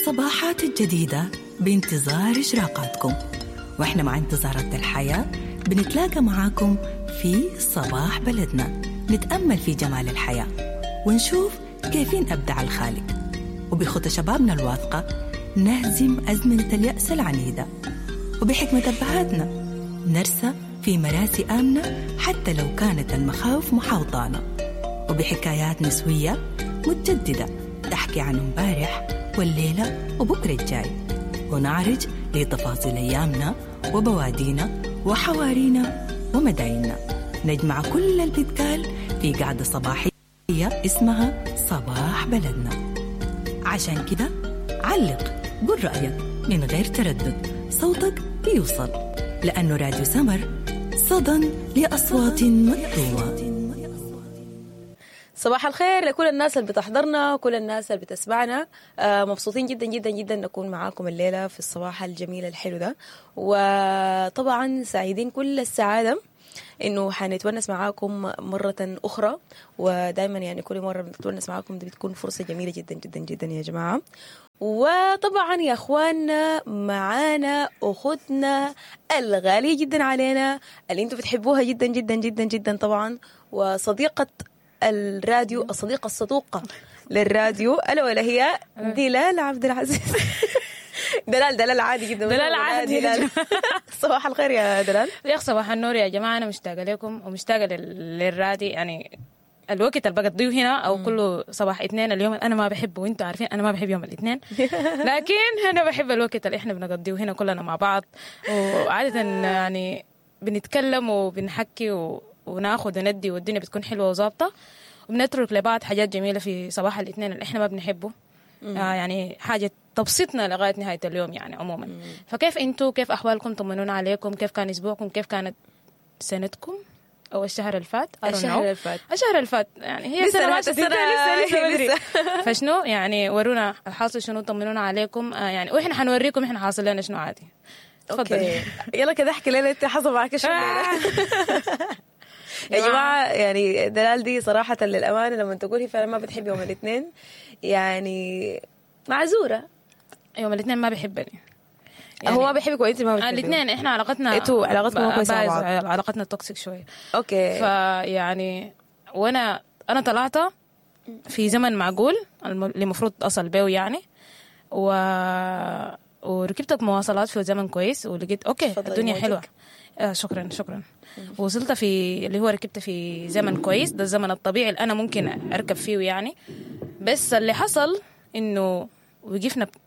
الصباحات الجديدة بانتظار إشراقاتكم، وإحنا مع انتظارات الحياة بنتلاقى معاكم في صباح بلدنا، نتأمل في جمال الحياة ونشوف كيفين أبدع الخالق، وبخطى شبابنا الواثقة نهزم أزمنة اليأس العنيدة، وبحكمة أبهاتنا نرسى في مراسي آمنة حتى لو كانت المخاوف محاوطانا، وبحكايات نسوية متجددة تحكي عن امبارح والليلة وبكرة الجاي، ونعرج لتفاصيل أيامنا وبوادينا وحوارينا ومدايننا. نجمع كل اللي بيتقال في قعدة صباحية اسمها صباح بلدنا. عشان كده علق، قول رأيك من غير تردد، صوتك بيوصل، لأنه راديو سمر صدى لأصوات مكتومة. صباح الخير لكل الناس اللي بتحضرنا وكل الناس اللي بتسمعنا. مبسوطين جدا جدا جدا نكون معاكم الليلة في الصباح الجميل الحلو ده، وطبعا سعيدين كل السعادة انه حنتونس معاكم مرة اخرى، ودائما يعني كل مرة بنتونس معاكم دي بتكون فرصة جميلة جدا جدا جدا يا جماعة. وطبعا يا اخواننا معانا اختنا الغالية جدا علينا اللي انتم بتحبوها جدا جدا جدا جدا طبعا، وصديقة الراديو، الصديقة الصدوقة للراديو، ألا ولا هي دلال عبد العزيز. دلال دلال عادي جدا، دلال عادي. دلال. صباح الخير يا دلال. يا صباح النور يا جماعة، أنا مشتاقة لكم ومشتاقة للرادي. يعني الوقت اللي بقضيه هنا أو كله صباح اثنين، اليوم أنا ما بحبه وأنتوا عارفين أنا ما بحب يوم الاثنين، لكن أنا بحب الوقت اللي إحنا بنقضيه هنا كلنا مع بعض، وعادة يعني بنتكلم وبنحكي وناخد وندي، والدنيا بتكون حلوة وظابطة، وبنترك لبعض حاجات جميلة في صباح الاثنين اللي احنا ما بنحبه. يعني حاجة تبسطنا لغاية نهاية اليوم يعني عموما. فكيف انتوا، كيف أحوالكم؟ طمنونا عليكم، كيف كان أسبوعكم، كيف كانت سنتكم أو الشهر الفات؟ الشهر الفات، الشهر الفات يعني هي سنة ماشية لسه بدري. فشنو يعني ورونا الحاصل شنو، طمنونا عليكم. يعني واحنا حنوريكم احنا حاصل لنا شنو عادي. تفضلي يلا كده احكي لنا انت حصل معك شنو. يا جماعة يعني دلال دي صراحة للأمانة لما تقول هي فعلا ما بتحب يوم الاثنين، يعني معذورة. يوم الاثنين ما بيحبني يعني، هو ما بيحبك وانت ما بتحبيه. الاثنين احنا علاقتنا، انتوا علاقتكم ما كويسة مع بعض، علاقتنا toxic شوية. okay. فيعني وانا طلعت في زمن معقول اللي المفروض اصل بيه يعني، وركبت مواصلات في زمن كويس، ولقيت okay الدنيا حلوة. شكرا شكرا. وصلت في اللي هو ركبت في زمن كويس، ده الزمن الطبيعي اللي انا ممكن اركب فيه يعني. بس اللي حصل انه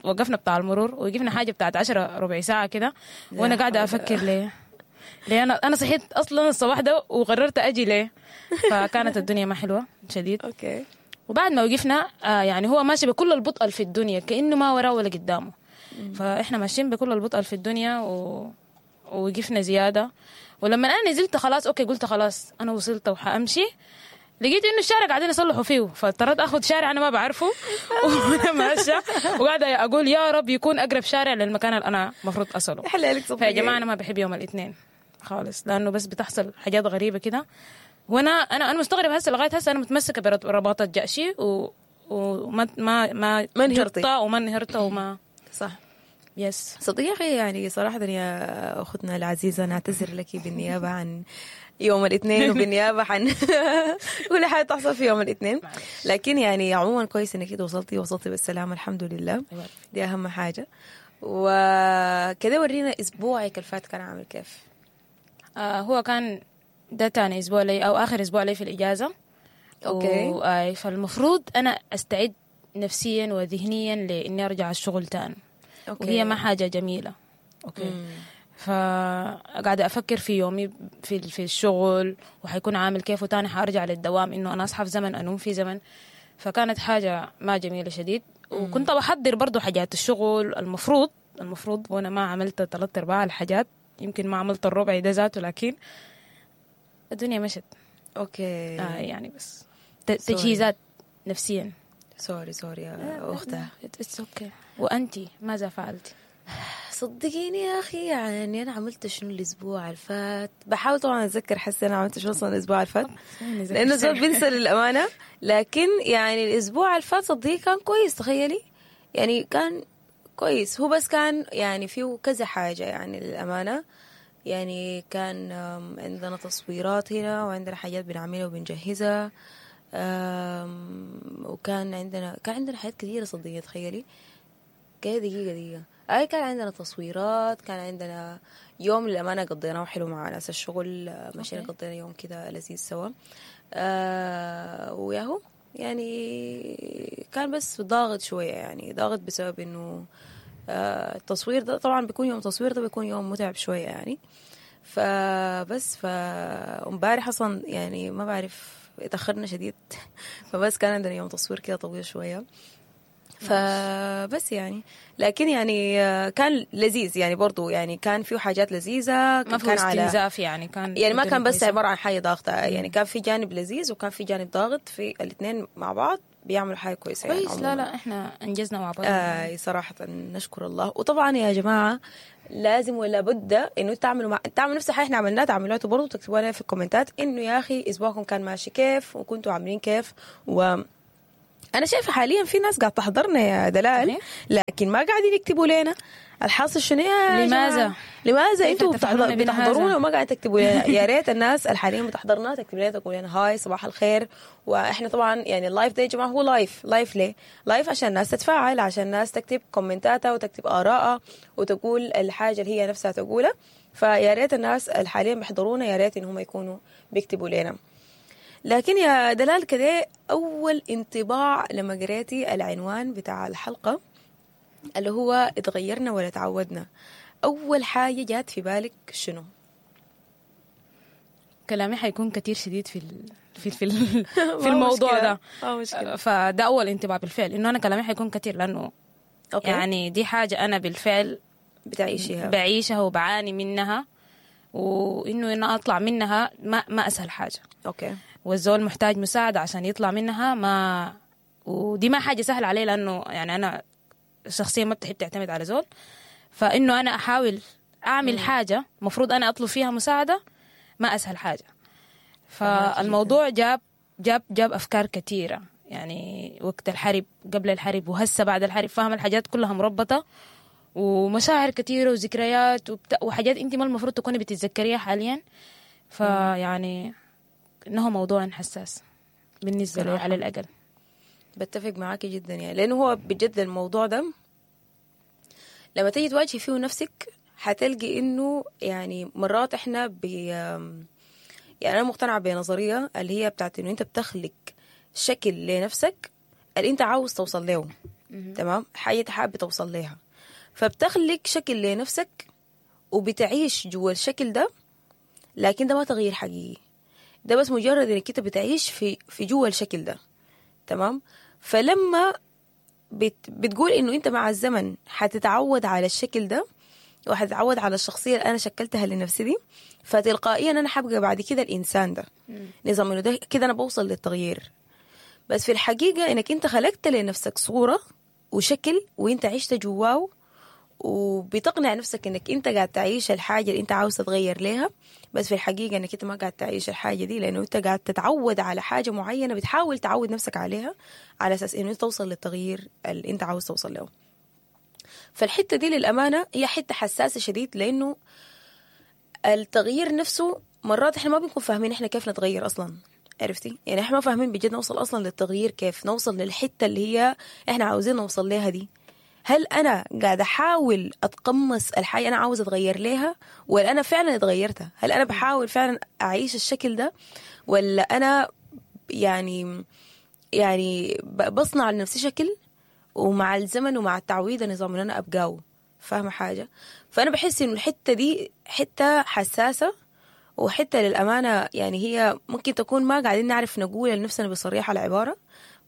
وقفنا بتاع المرور، وقفنا حاجة بتاعت 10 ربع ساعة كده، وانا قاعدة افكر ليه انا صحيت اصلا الصباح ده وقررت اجي ليه. فكانت الدنيا ما حلوة شديد. okay. وبعد ما وقفنا يعني هو ماشي بكل البطء في الدنيا، كانه ما وراه ولا قدامه. فاحنا ماشيين بكل البطء في الدنيا ووقفنا زيادة. ولما انا نزلت خلاص okay، قلت خلاص انا وصلت وحامشي، لقيت انه الشارع قاعدين يصلحوا فيه، فاضطريت اخذ شارع انا ما بعرفه وانا ماشية، وقاعدة اقول يا رب يكون اقرب شارع للمكان اللي انا المفروض اصله. فيا جماعة انا ما بحب يوم الاثنين خالص، لانه بس بتحصل حاجات غريبة كده، وانا انا انا مستغرب هسه لغاية هسه انا متمسكة برباطه جأشي وما ما ما ما انهرتي وما انهرت وما صح. yes صديقي يعني صراحة يا أختنا العزيزة نعتذر لك بالنيابة عن يوم الاثنين وبالنيابة عن كل حاجة تحصل في يوم الاثنين، لكن يعني عموما كويس انك وصلتي بالسلامة الحمد لله، دي أهم حاجة. وكده ورينا أسبوعك الفات كان عامل كيف؟ هو كان ده تاني أسبوع لي أو آخر أسبوع لي في الإجازة. okay. فالمفروض أنا أستعد نفسيا وذهنيا لإني أرجع الشغل تاني. okay. وهي ما حاجة جميلة. okay. فقاعدة أفكر في يومي في الشغل وحيكون عامل كيف، وتاني حأرجع للدوام إنه أنا أصحى في زمن أنوم في زمن، فكانت حاجة ما جميلة شديد. وكنت بحضر برضو حاجات الشغل المفروض، وأنا ما عملت 3/4 الحاجات، يمكن ما عملت الربع ده ذاته، لكن الدنيا مشت. okay. يعني بس تجهيزات نفسيا. sorry يا أختها. it's okay. وأنتي ماذا فعلتي؟ صدقيني يا أخي يعني أنا عملت شنو الأسبوع الفات، بحاول طبعا أتذكر حسي أنا عملت شنو أصلا الأسبوع الفات، لأنه زول بنسى للأمانة. لكن يعني الأسبوع الفات صدقيني كان كويس، تخيلي يعني كان كويس. هو بس كان يعني فيه كذا حاجة يعني للأمانة، يعني كان عندنا تصويرات هنا وعندنا حاجات بنعملها وبنجهزها، وكان عندنا حاجات كثيرة صدقيني. تخيلي كده دقيقة اي كان عندنا تصويرات، كان عندنا يوم للأمانة قضيناه حلو مع ناس الشغل، مشينا قضينا يوم كده لذيذ سوا، وياهو يعني كان بس ضاغط شوية، يعني ضاغط بسبب انه التصوير ده طبعا بيكون يوم تصوير ده بيكون يوم متعب شوية يعني. فبس فامبارح اصلا يعني ما بعرف اتأخرنا شديد فبس كان عندنا يوم تصوير كده طويل شوية، فبس يعني لكن يعني كان لذيذ يعني برضو، يعني كان فيه حاجات لذيذة، ما فيه استنزاف يعني، كان يعني ما كان بس عبارة عن حاجة ضاغطة، يعني كان في جانب لذيذ وكان في جانب ضاغط، في الاثنين مع بعض بيعملوا حاجة كويسة كويس يعني. لا احنا انجزنا مع بعض صراحة نشكر الله. وطبعا يا جماعة لازم ولا بد انه تعملوا تعملوا نفس الحاجة احنا عملناها، تعملوها برضه، تكتبوا لنا في الكومنتات انه يا اخي اسبوعكم كان ماشي كيف وكنتوا عاملين كيف. و أنا شايفة حاليا في ناس قاعد تحضرنا يا دلال، لكن ما قاعدين يكتبوا لنا الحاصل شنو يا لماذا؟ لماذا انتوا بتحضرونا وما قاعد تكتبوا لنا؟ يا ريت الناس اللي حاليا بتحضرنا تكتب لنا، تقول لنا hi صباح الخير. واحنا طبعا يعني ال live ده يا جماعة هو live، live ليه؟ live عشان الناس تتفاعل، عشان الناس تكتب كومنتاتها وتكتب آرائها وتقول الحاجة اللي هي نفسها تقولها. فيا ريت الناس اللي حاليا بيحضرونا يا ريت ان هم يكونوا بيكتبوا لنا. لكن يا دلال كده، أول انطباع لما قريتي العنوان بتاع الحلقة اللي هو اتغيرنا ولا تعودنا، أول حاجة جات في بالك شنو؟ كلامي حيكون كتير شديد في في في, في الموضوع ده، فده أول انطباع بالفعل إنه أنا كلامي حيكون كتير، لأنه يعني دي حاجة أنا بالفعل بتعيشيها، بعيشها وبعاني منها، وإنه أنا أطلع منها ما أسهل حاجة. okay. والزول محتاج مساعدة عشان يطلع منها، ما ودي ما حاجة سهلة عليه، لأنه يعني أنا شخصيا ما بتحب تعتمد على زول، فإنه أنا أحاول أعمل حاجة مفروض أنا أطلب فيها مساعدة ما أسهل حاجة. فالموضوع جاب جاب جاب أفكار كثيرة، يعني وقت الحرب، قبل الحرب، وهسه بعد الحرب، فاهم الحاجات كلها مربطة، ومشاعر كثيرة وذكريات وحاجات أنت ما المفروض تكوني بتتذكريها حاليا. فيعني إنه موضوع حساس بالنسبة لي على الأقل. بتفق معاكي جدا يعني، لأنه هو بجد الموضوع ده لما تيجي تواجهي فيه نفسك حتلقي إنه يعني مرات إحنا يعني أنا مقتنعة بنظرية اللي هي بتاعت إنه أنت بتخلق شكل لنفسك اللي أنت عاوز توصل له، تمام؟ حاجة حابة توصل لها، فبتخلق شكل لنفسك وبتعيش جوا الشكل ده، لكن ده ما تغيير حقيقي، ده بس مجرد انك انت بتعيش في جوا الشكل ده، تمام؟ فلما بتقول انه انت مع الزمن حتتعود على الشكل ده وحتتعود على الشخصية اللي انا شكلتها لنفسي دي، فتلقائيا انا حبقى بعد كده الانسان ده، نظام انه ده كده انا بوصل للتغيير. بس في الحقيقة انك انت خلقت لنفسك صوره وشكل وانت عشت جواه، وبتقنع نفسك انك انت قاعد تعيش الحاجة اللي انت عاوز تتغير ليها، بس في الحقيقة انك انت ما قاعد تعيش الحاجة دي، لانه انت قاعد تتعود على حاجة معينة، بتحاول تعود نفسك عليها على اساس انه توصل للتغيير اللي انت عاوز توصل له. فالحته دي للامانة هي حتة حساسة شديد، لانه التغيير نفسه مرات احنا ما بنكون فاهمين احنا كيف نتغير اصلا، عرفتي؟ يعني احنا ما فاهمين بجد نوصل اصلا للتغيير كيف، نوصل للحتة اللي هي احنا عاوزين نوصل لها دي. هل أنا قاعدة أحاول أتقمص الحاجة أنا عاوز أتغير ليها، ولا أنا فعلا اتغيرتها؟ هل أنا بحاول فعلا أعيش الشكل ده، ولا أنا يعني بصنع لنفسي شكل ومع الزمن ومع التعويض نظام إن أنا أبقاه، فاهمة حاجة؟ فأنا بحس إنه الحتة دي حتة حساسة، وحتة للأمانة يعني هي ممكن تكون ما قاعدين نعرف نقول لنفسنا بصريحة العبارة،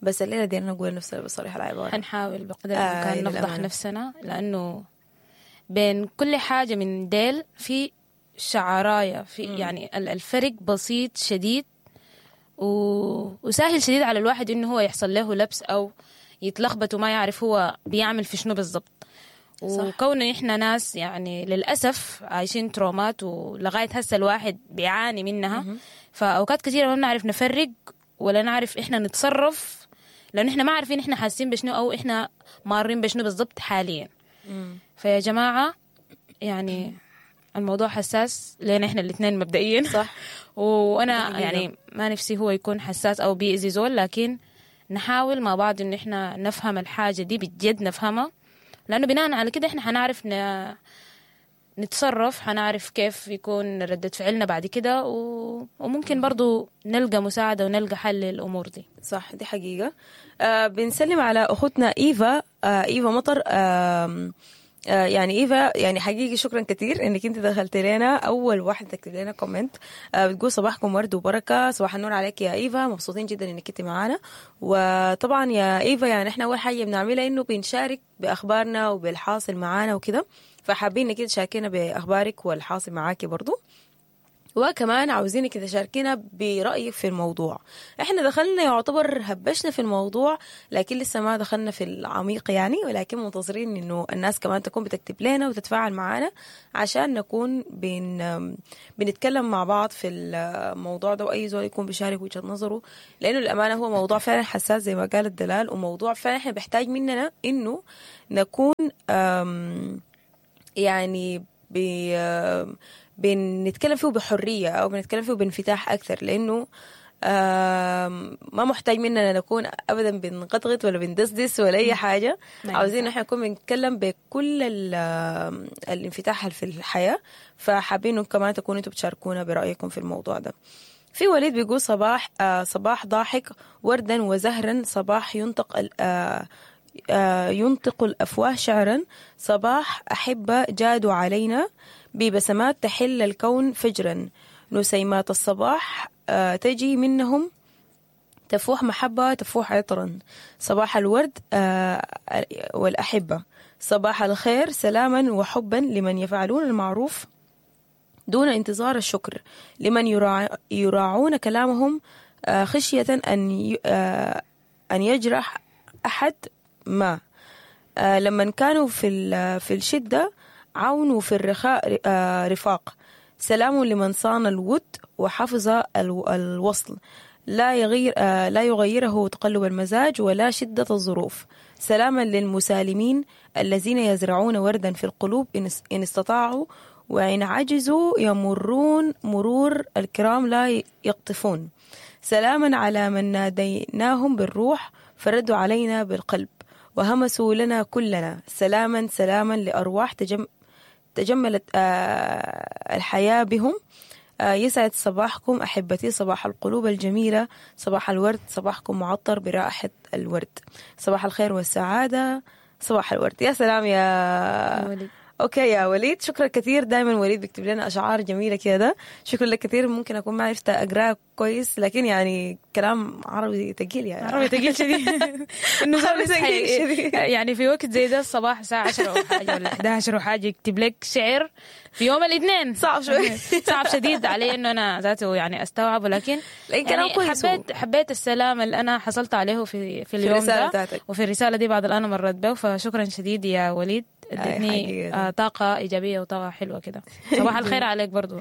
بس الليلة دي نقول لنفسنا بصريحة العبارة. حنحاول بقدر الإمكان نفضح نفسنا، لأنه بين كل حاجة من ديل في شعراية، في يعني الفرق بسيط شديد وسهل شديد على الواحد إنه هو يحصل له لبس أو يتلخبط وما يعرف هو بيعمل في شنو بالضبط. وكون إحنا ناس يعني للأسف عايشين ترومات ولغاية هسه الواحد بيعاني منها، فأوقات كثيرة ما بنعرف نفرق ولا نعرف إحنا نتصرف، لأن إحنا ما عارفين إحنا حاسين بشنو أو إحنا مارين بشنو بالضبط حاليا. فيا جماعة يعني الموضوع حساس لنا احنا الاثنين مبدئيا. صح. وانا يعني ما نفسي هو يكون حساس او بيأذي زول، لكن نحاول مع بعض انه احنا نفهم الحاجة دي بجد، نفهمها، لانه بناء على كده احنا حنعرف نتصرف، حنعرف كيف يكون ردة فعلنا بعد كده، وممكن برضو نلقى مساعدة ونلقى حل للأمور دي. صح، دي حقيقة. بنسلم على أختنا إيفا، إيفا مطر. يعني إيفا يعني حقيقي شكرا كثير إنك أنت دخلت لنا، أول واحدة تكتب لنا comment. بتقول صباحكم ورد وبركة، صباح النور عليك يا إيفا، مبسوطين جدا إنك أنت معانا. وطبعا يا إيفا يعني إحنا أول حاجة بنعملها إنه بنشارك بأخبارنا وبالحاصل معانا وكده، فحابين إنك تشاركينا بأخبارك والحاصل معاكي برضو، وكمان عاوزينك تشاركينا برأيك في الموضوع. احنا دخلنا يعتبر هبشنا في الموضوع، لكن لسه ما دخلنا في العميق يعني، ولكن منتظرين انه الناس كمان تكون بتكتب لنا وتتفاعل معانا عشان نكون بنتكلم مع بعض في الموضوع ده، واي زول يكون بيشارك وجهة نظره، لانه الامانة هو موضوع فعلا حساس زي ما قالت دلال، وموضوع فعلا احنا بيحتاج مننا انه نكون يعني بنتكلم فيه بحرية أو بنتكلم فيه بانفتاح أكثر، لأنه ما محتاج مننا نكون أبدا بنغطغط ولا بندسدس ولا أي حاجة. عاوزين نحن نكون بنتكلم بكل الانفتاح في الحياة، فحابين كمان تكونوا انتوا بتشاركونا برأيكم في الموضوع ده. في وليد بيقول صباح صباح ضاحك وردا وزهرا، صباح ينطق ينطق الأفواه شعرا، صباح أحبة جادوا علينا ببسمات تحل الكون فجرا، نسيمات الصباح تجي منهم تفوح محبة تفوح عطرا، صباح الورد والأحبة، صباح الخير سلاما وحبا لمن يفعلون المعروف دون انتظار الشكر، لمن يراعون كلامهم خشية أن يجرح أحد ما، لمن كانوا في الشدة عون وفي الرخاء رفاق، سلام لمن صان الود وحفظ الوصل، لا يغيره تقلب المزاج ولا شدة الظروف، سلاما للمسالمين الذين يزرعون وردا في القلوب إن استطاعوا، وإن عجزوا يمرون مرور الكرام لا يقطفون، سلاما على من ناديناهم بالروح فردوا علينا بالقلب وهمسوا لنا كلنا، سلاما سلاما لأرواح تجملت الحياة بهم. يسعد صباحكم أحبتي، صباح القلوب الجميلة، صباح الورد، صباحكم معطر برائحة الورد، صباح الخير والسعادة، صباح الورد. يا سلام يا وليد. okay يا وليد، شكرا كثير. دائما وليد بيكتب لنا اشعار جميلة كده، شكرا لك كثير. ممكن اكون ما عرفت اقراه كويس، لكن يعني كلام عربي ثقيل، يعني عربي ثقيل شديد. انه يعني في وقت زي ده الصباح الساعة 10 وحاجه ولا 11 وحاجه يكتب لك شعر في يوم الاثنين، صعب شوي، صعب شديد علي انه انا ذاته يعني استوعبه، لكن يعني حبيت السلام اللي انا حصلت عليه في اليوم ده وفي الرسالة دي بعد الان مرت به. فشكرا شديد يا وليد، ادتني طاقة إيجابية وطاقة حلوة كده. صباح الخير عليك برضو.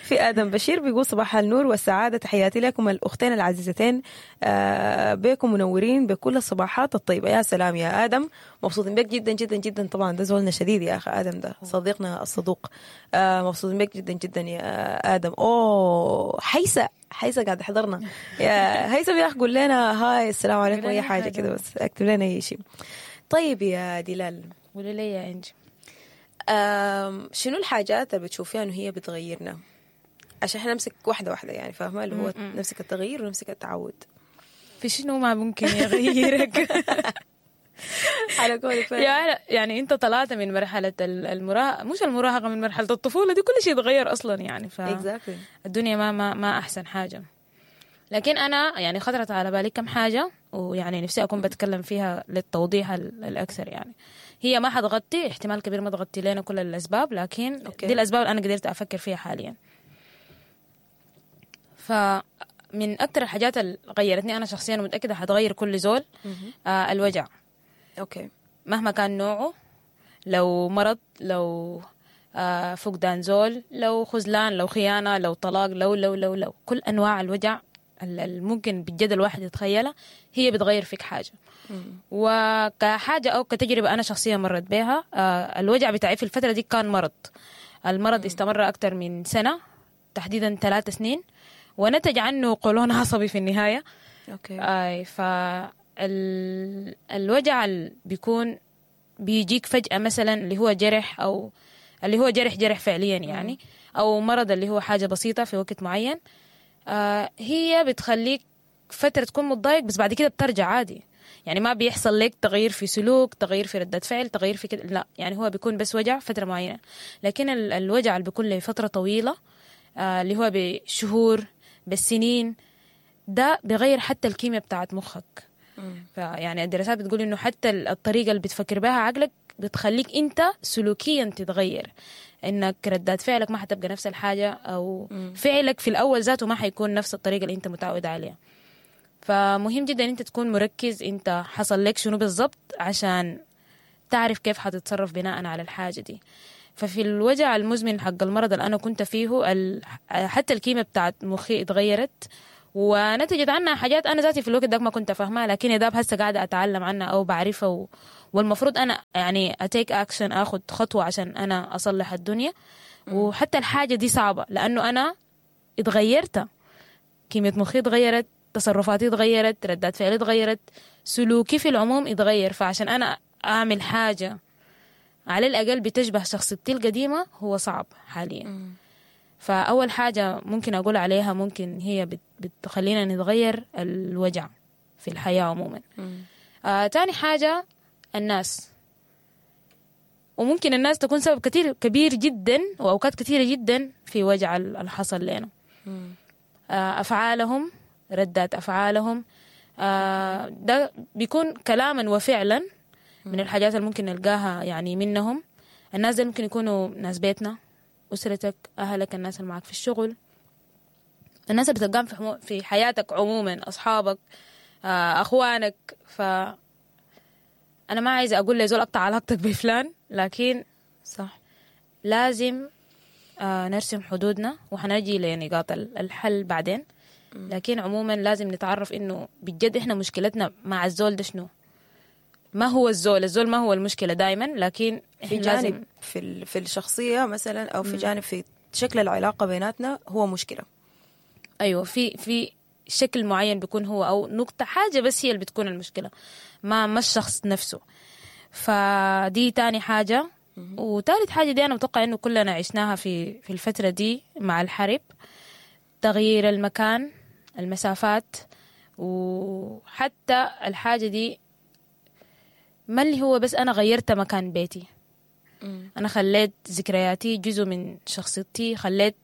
في آدم بشير بيقول صباح النور والسعادة، تحياتي لكم الأختين العزيزتين، بكم منورين بكل الصباحات الطيبة. يا سلام يا آدم، مبسوطين بك جدا جدا جدا. طبعا ده زولنا شديد يا أخي آدم، ده صديقنا الصدوق. مبسوطين بك جدا جدا يا آدم. أوه حيسة قاعد حضرنا يا هيثم يا أخي، قول لنا هاي السلام عليكم أي حاجة كده، بس اكتب لنا أي شيء. طيب يا دلال، قولي لي يا إنجي، شنو الحاجات اللي بتشوفيها إنه هي بتغيرنا؟ عشان احنا نمسك واحدة واحدة يعني، فاهمة؟ اللي هو نمسك التغيير ونمسك التعود. في شنو ما ممكن يغيرك؟ على قولك يعني انت طلعت من مرحلة المراهقة، مش المراهقة، من مرحلة الطفولة دي كل شيء يتغير أصلا يعني. ف الدنيا ما أحسن حاجة. لكن أنا يعني خطرت على بالي كم حاجة، ويعني نفسي أكون بتكلم فيها للتوضيح الأكثر. يعني هي ما حتغطي، احتمال كبير ما تغطي لنا كل الأسباب، لكن دي الأسباب اللي أنا قدرت أفكر فيها حاليا. فمن أكثر الحاجات اللي غيرتني أنا شخصيا، ومتأكدة حتغير كل زول، الوجع. okay. مهما كان نوعه، لو مرض، لو فقدان زول، لو خذلان، لو خيانة، لو طلاق، لو لو لو لو كل أنواع الوجع ممكن بجد الواحد يتخيلها، هي بتغير فيك حاجة. وكحاجة أو كتجربة أنا شخصيا مرت بها، الوجع بتاعي في الفترة دي كان مرض. المرض استمر أكتر من سنة، تحديدا 3 سنين، ونتج عنه قولون عصبي في النهاية. okay. فالوجع اللي بيكون بيجيك فجأة مثلا، اللي هو جرح، أو اللي هو جرح فعليا يعني، أو مرض اللي هو حاجة بسيطة في وقت معين، هي بتخليك فترة تكون متضايق، بس بعد كده بترجع عادي. يعني ما بيحصل لك تغيير في سلوك، تغيير في ردة فعل، تغيير في كده، لا، يعني هو بيكون بس وجع فترة معينة. لكن الوجع اللي بيكون لفترة طويلة، اللي هو بشهور بالسنين، ده بيغير حتى الكيمياء بتاعت مخك. فيعني الدراسات بتقول انه حتى الطريقة اللي بتفكر بها عقلك بتخليك انت سلوكيا تتغير، انك ردات فعلك ما حتبقى نفس الحاجة، او فعلك في الاول ذاته ما حيكون نفس الطريقة اللي انت متعود عليها. فمهم جدا انت تكون مركز انت حصل لك شنو بالضبط عشان تعرف كيف حتتصرف بناء على الحاجة دي. ففي الوجع المزمن حق المرض اللي انا كنت فيه، حتى الكيمياء بتاعت مخي اتغيرت، ونتجت عنها حاجات انا ذاتي في الوقت ده ما كنت فاهمها، لكن يا داب هسه قاعدة اتعلم عنها او بعرفها، والمفروض انا يعني ا take action، اخذ خطوة عشان انا اصلح الدنيا. وحتى الحاجة دي صعبة لانه انا اتغيرت، كيمياء مخي اتغيرت، تصرفاتي اتغيرت، ردات فعلي اتغيرت، سلوكي في العموم اتغير. فعشان انا اعمل حاجة على الاقل بتشبه شخصيتي القديمة هو صعب حاليا. فأول حاجة ممكن أقول عليها ممكن هي بتخلينا نتغير، الوجع في الحياة عموما. تاني حاجة الناس، وممكن الناس تكون سبب كتير كبير جدا وأوقات كثيرة جدا في وجع اللي حصل لنا. أفعالهم، ردات أفعالهم، ده بيكون كلاما وفعلا من الحاجات اللي ممكن نلقاها يعني منهم. الناس دي ممكن يكونوا ناس بيتنا، أسرتك، أهلك، الناس اللي معك في الشغل، الناس اللي بتلقاهم في حياتك عموما، أصحابك، أخوانك. فأنا ما عايزة أقول لزول أقطع علاقتك بفلان، لكن صح لازم نرسم حدودنا، وحنجي لنقاط الحل بعدين. لكن عموما لازم نتعرف إنه بجد إحنا مشكلتنا مع الزول ده شنو، ما هو الزول ما هو المشكلة دائما، لكن في جانب في الشخصية مثلا، أو في جانب في شكل العلاقة بيناتنا هو مشكلة. أيوة، في شكل معين بيكون هو، أو نقطة حاجة بس هي اللي بتكون المشكلة، ما الشخص نفسه. فدي تاني حاجة. وثالث حاجة دي أنا متوقع إنه كلنا عشناها في الفترة دي مع الحرب، تغيير المكان، المسافات، وحتى الحاجة دي ما اللي هو بس أنا غيرت مكان بيتي، أنا خليت ذكرياتي جزء من شخصيتي، خليت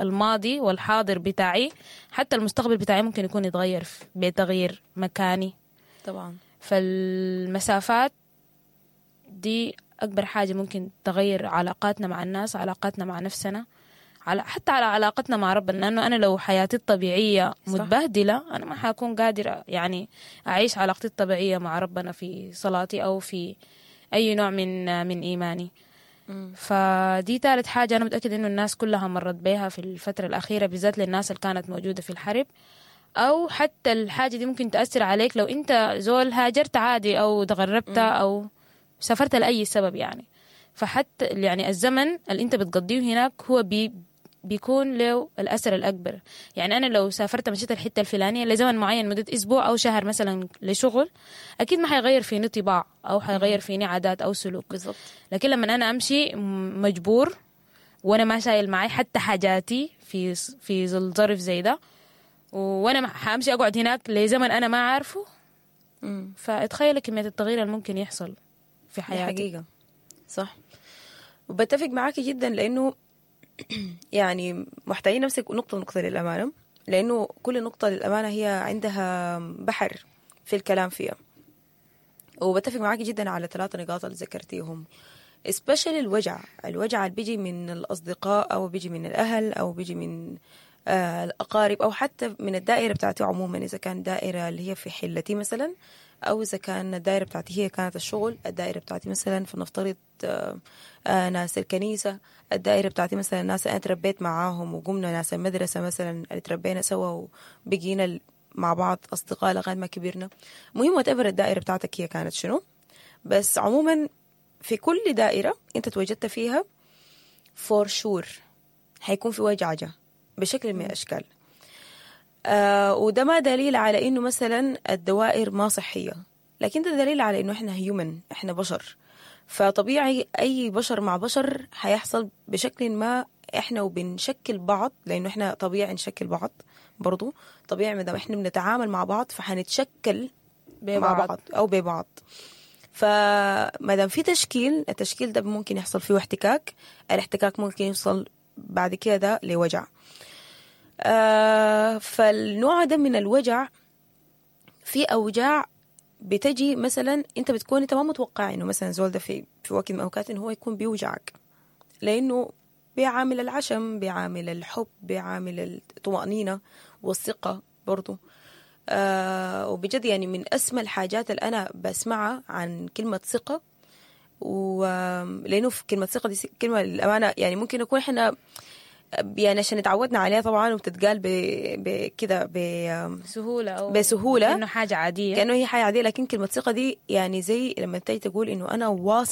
الماضي والحاضر بتاعي، حتى المستقبل بتاعي ممكن يكون يتغير بتغيير مكاني طبعا. فالمسافات دي أكبر حاجة ممكن تغير علاقاتنا مع الناس، علاقاتنا مع نفسنا، حتى على علاقتنا مع ربنا. لأنه أنا لو حياتي الطبيعية متبهدلة، أنا ما حأكون قادرة يعني أعيش علاقتي الطبيعية مع ربنا في صلاتي أو في أي نوع من إيماني. فدي ثالث حاجة أنا متأكدة إنه الناس كلها مرت بيها في الفترة الأخيرة، بالذات للناس اللي كانت موجودة في الحرب، أو حتى الحاجة دي ممكن تأثر عليك لو أنت زول هاجرت عادي أو تغربت أو سافرت لأي سبب يعني. فحتى يعني الزمن اللي أنت بتقضيه هناك هو بيكون له الأثر الأكبر. يعني أنا لو سافرت مشيت الحتة الفلانية لزمن معين مدة أسبوع أو شهر مثلا لشغل، أكيد ما حيغير فيني طباع أو حيغير فيني عادات أو سلوك. بالضبط. لكن لما أنا أمشي مجبور وأنا ما شايل معي حتى حاجاتي في ظل ظرف زي ده، وأنا حأمشي أقعد هناك لزمن أنا ما عارفه، فاتخيل كمية التغيير اللي ممكن يحصل في حياتي. حقيقة صح، وبتفق معاكي جدا، لأنه يعني محتاجين نمسك نقطة نقطة للأمانة، لأنه كل نقطة للأمانة هي عندها بحر في الكلام فيها. وبتفق معاكي جدا على 3 نقاط اللي ذكرتيهم، especially الوجع اللي بيجي من الأصدقاء أو بيجي من الأهل أو بيجي من الأقارب أو حتى من الدائرة بتاعتي عموما، إذا كان دائرة اللي هي في حلتي مثلا او اذا كان الدائرة بتاعتي هي كانت الشغل، الدائرة بتاعتي مثلا فلنفترض ناس الكنيسة، الدائرة بتاعتي مثلا ناس انا تربيت معاهم وقمنا ناس المدرسة مثلا اللي تربينا سوا وبقينا مع بعض اصدقاء لغاية ما كبرنا. المهم whatever الدائرة بتاعتك هي كانت شنو، بس عموما في كل دائرة انت تواجدت فيها for sure حيكون في وجعجه بشكل من الاشكال. وده ما دليل على انه مثلا الدوائر ما صحية، لكن ده دليل على انه احنا human، احنا بشر، فطبيعي اي بشر مع بشر حيحصل بشكل ما احنا وبنشكل بعض، لانه احنا طبيعي نشكل بعض، برضو طبيعي ما دام احنا بنتعامل مع بعض فحنتشكل مع ببعض. بعض او ببعض. فما دام في تشكيل، التشكيل ده ممكن يحصل فيه احتكاك، الاحتكاك ممكن يوصل بعد كده ده لوجع. فالنوع ده من الوجع، في اوجاع بتجي مثلا انت بتكون انت ما متوقع انه مثلا زول ده في وقت من الاوقات انه هو يكون بيوجعك، لانه بيعامل العشم، بيعامل الحب، بيعامل الطمأنينة والثقة برضو. وبجد يعني من أسمى الحاجات اللي أنا بسمعها عن كلمة ثقة، ولأنه في كلمة ثقة دي كلمة للأمانة يعني ممكن نكون إحنا يعني عشان اتعودنا عليها طبعا وبتتقال بكده بسهولة او بسهولة. انه حاجة عادية، كأنه هي حاجة عادية، لكن كلمة ثقة دي يعني زي لما تيجي تقول إنه أنا واثق.